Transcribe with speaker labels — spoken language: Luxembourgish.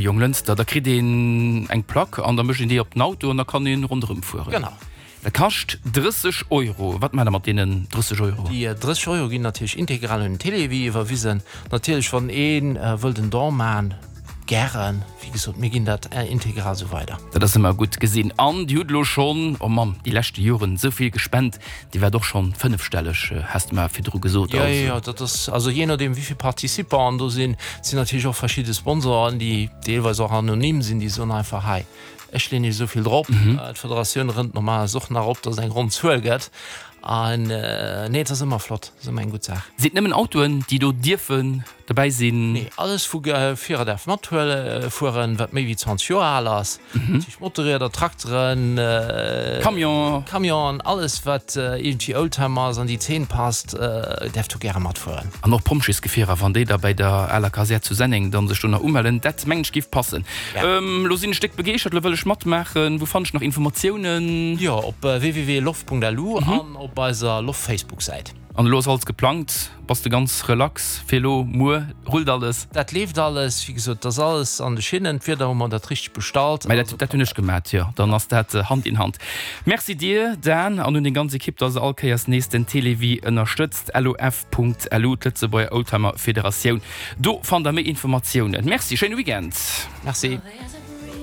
Speaker 1: Jonglënster, da kritt een eng Plack an da mécht een déi op den Auto an da kann een ronderëm fueren.
Speaker 2: Genau.
Speaker 1: Dat kascht 30 Euro. Wat maacht der mat deenen 30 Euro?
Speaker 2: Déi 30 Euro ginn natierlech integral un den Télévie iwwerwisen. Natierlech, wann ee wëllt en Don maachen, gären. Wéi gesot, mir ginn dat integral esou weider.
Speaker 1: Dat ass ëmmer gutt gesinn. An Dir hutt elo schonn, oh Mamm, déi leschte Joren esou vill gespent. Dir waart och schonn fënnefstelleg, has de mer virdru gesot.
Speaker 2: Jo, jo, jo, dat ass, also jee nodeem wéi vill Participanten do sinn. Et sinn natierlech och verschidde Sponsoren, déi deelweis och anonym sinn, déi soen einfach, hei, ech leeën iech esou vill drop. D'Federatioun rënnt normalerweis och nach op, datt et eng ronn Zuel gëtt. An nee, et ass ëmmer flott, et ass ëmmer eng gutt Saach.
Speaker 1: Sinn et nëmmen Autoen, déi do dierfen Dobäi sinn.
Speaker 2: Nee, alles vu Gefierer däerf mathuele fueren, wat méi wéi 20 Joer al ass. Dat heescht Motorrieder, Trakteren,
Speaker 1: Camion.
Speaker 2: Camionen, alles wat iergendwéi Oldtimer ass, an déi Zeen passt, däerf do gäre matfueren.
Speaker 1: An och Pompjeesgefierer, wann déi da bäi der aler Kasär zu Senneng dann sech do nach umellen, dat mengen ech géif passen. Lo sinn ech déck begeeschtert, lo wëll ech matmaachen. Wou fannen ech nach Informatiounen?
Speaker 2: Jo, op www.lof.lu an op eiser Lof-Facebook-Säit.
Speaker 1: An elo ass alles geplangt? Bass de ganz relax fir elo muer? Rullt alles?
Speaker 2: Dat leeft alles, wéi gesot, et ass alles an de Schinnen. D'Wieder hu mer dat richteg bestallt.
Speaker 1: Mä dat, dat hunn ech gemat, jo. Dann ass dat Hand in Hand. Merci dir, Dan, an un deng ganz Ekipp, dass der all Kéiers nees den Télévie ënnerstëtzt. LOF.lu, d'Lëtzebuerger Oldtimer Federatioun. Do fannt der méi Informatiounen. Merci, schéine Weekend.
Speaker 2: Merci.